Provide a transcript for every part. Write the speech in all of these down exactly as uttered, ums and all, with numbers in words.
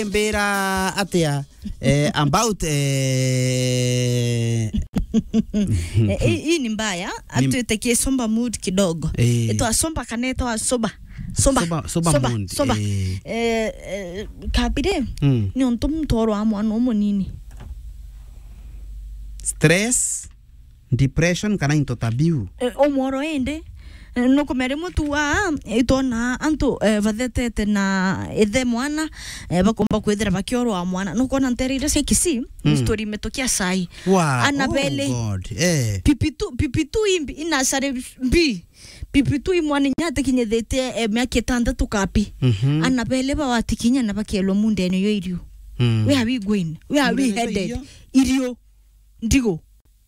mbira atia, eh, about, eh, Eh, hii, hii ni mbaya. Ni atwite ki somber mood kidogo. Eh. Itwa somber kana itwa sober? Sober. Sober, sober Sober, mood, sober. Eh. Eh, eh, kabire, Mm. ni untu muntu orwa mwana umunini. Stress, depression kana into ta biu. Eh, umworo indi. Eh, nukumenya rimwe tu wa, itwona antu, eh, bathetete na ithe mwana, eh, bakomba kwithira bakiorwa mwana. Nukona ntere iria cia Kisii, Mm. story imetokia sai. Wow. Ana Oh bele. God. Eh. Pipitu, pipitu imbi, inasare mbi. Pipitu imwana inya atikinyithitie, eh, miaka itandatu kapi. Mhm. Ana bele bawatikinya na bakielwa mundene yo irio. Mm. Where are we going? Where are we Mundene headed? Irio. Irio. Ndigo.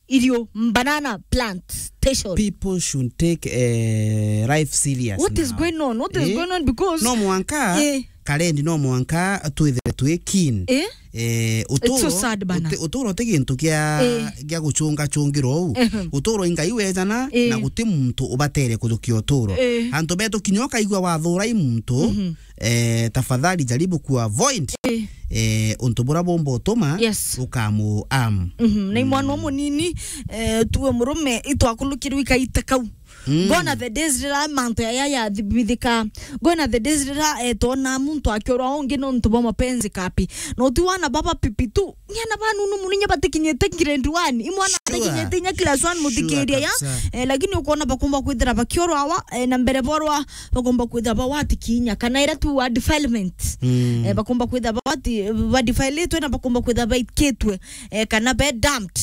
Irio, banana plantation. People should take, eh, life serious What is now. going on? What is Eh? going on? Because No mwanka, Eh. Karendi, no mwanka twithire twi keen. Eh? Eh, It's so uturo, sad bana. uti-, uturo ti gintu kia, Eh. gia gucunga cungirwo uu. Ehem. Uturo i Ngai wejana Eh. na guti muntu ubatere kuthukia uturo. Eh. Antu betu kinya ukaigua wathura i muntu, Mhm. eh, tafadhali jaribu ku avoid, Eh. eh, untu bura bumba utuma Yes. ukamu am. Mhm. Na i mwana umunini, eh, tuwe murume itwakulukirwe ikaita kau. Mm. Gone are the days rira mantu yaya yathibithika. Gone are the days rira, eh, twona muntu akiorwa ungi nontu bwa mapenzi kapi. Na uti wana baba pipitu. Ni ana banunu muno inya batikinyite grade one. I mwana Sure. atikinyite inya class one Sure muthikiria ya. kabisa. Eh, lakini ukona bakumba kwithira bakiorwa awa, eh, na mbere borwa bakumba kwithira bawatikinya. Kana ira tu wa defilement. Mm. Eh, bakumba kwithira bawati-, badefilitwe na bakumba kwithira baikitwe. Eh, kana be dumped.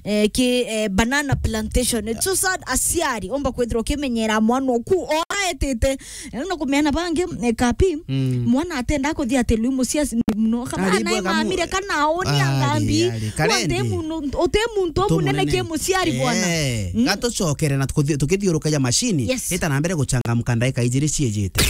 Eh, ki, eh, banana plantation. It's so sad, aciari, omba kwithirwa ukimenyera mwana oku, o aetete. Eh, na kumeana bangi, eh, kapi, Mm. mwana atenda kuthia ati lui muciari muno. Kama Ari nae bwega mu-, mamire kana aoni ari, angambi, ari, wa Karendi. Nte muno, ute muntu Ute munene munene. Ki muciari bwana. Eh, Mm. gatucokere na tukuthi-, tukithiurukaja macini, Yes. ita na mbere guchangamka ndaika ijiri ciejete.